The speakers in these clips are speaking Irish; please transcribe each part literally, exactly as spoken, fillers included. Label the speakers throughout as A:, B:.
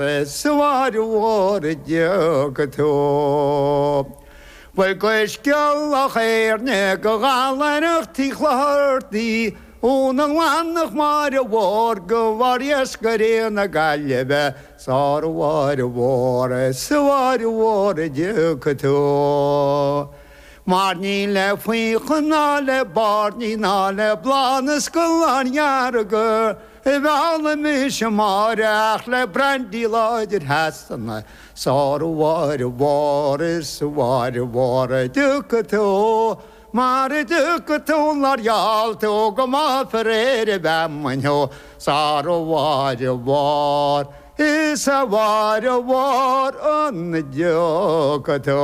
A: Is a Mháire Mhór a dtiocfaidh tú. Bhuel gaiscealach Éirne go gallaireacht Uí Chlochartaigh ón nGleannach Máire Mhór go bharr iascairí na Gaillimhe sar a Mháire Mhór is a Mháire Mhór a dtiocfaidh tú. Mar ní le faocha ná le bairnigh ná le bláth na scolán dhearga a mhealladh mise a Mháire ach le brandy láidir Shasana sar a Mháire Mhór is a Mháire Mhór a dtiocfaidh tú. Mar a dtiocfaidh tú nár gheall tú go mbáfar ar an bhfeamainn thú sar a Mháire Mhór is a Mháire Mhór an dtiocfaidh tú.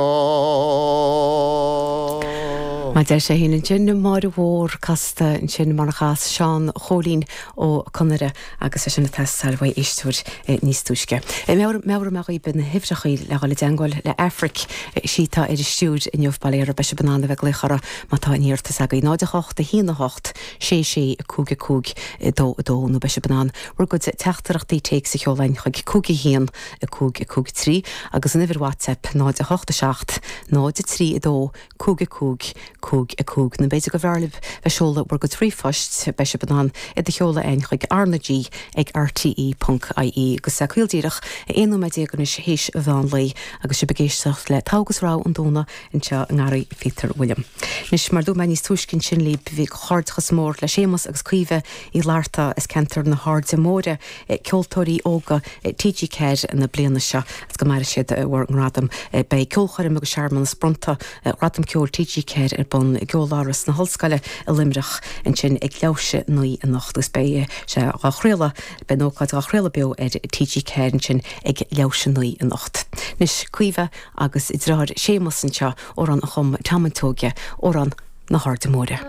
B: Mar deir sé féin ansin Máire Mhór casta ansin mar a chas Seán Chóilín Ó Conaire agus é sin ag teastáil uaidh éisteoir níos túisce. Meabhróidh mé dhaoibh na huimhreacha le dhul i dteagmháil le Aifric sí atá ar an stiúir inniu bail ó Dhia oraibh beidh sibh in ann a bheith ag glaoch uirthi má tá aon iarratas agaibh náid a hocht a haon a hocht sé sé cúig a cúig dó a dó nó beidh sibh in ann bhur gcuid teachtaireachtaí téacs a sheoladh chuig cúig a haon a cúig a cúig trí agus an uimhir WhatsApp náid a hocht a seacht náid a trí a dó cúig a cúig cúig a cúig nó b'fhéidir go mb'fhearr libh bheith seoladh bhur gcuid ríomhphoist beidh sibh in ann iad a sheoladh chugainn chuig RnaG ag RTE ponc IE agus caol díreach aon nóiméad déag anois théis an mheán lae agus sibh ag éisteacht le Togha agus Rogha an Domhnaigh anseo i nGarraí Phíotair William. Anois mar dúirt mé níos túisce ansin libh bhí comhghairdeachas mór le Séamus agus Caoimhe Uí Fhlatharta as ceantar na hAirde Móire ceoltóirí óga TG Ceathair na bliana seo agus go maire siad bhur ngradam beidh ceolchoirm agus searmanas bronnta Gradam Ceoil TG Ceathair ar bun i gCeoláras na hOllscoile i Luimneach ansin ag leathuair théis a naoi anocht agus beidh sé á chraoladh beidh an ócáid á chraoladh beo ar TG Ceathair ansin ag leathuair théis a naoi anocht. Anois Caoimhe agus a deartháir Séamus anseo amhrán a chum Tom an Tóige amhrán na hAirde Móire.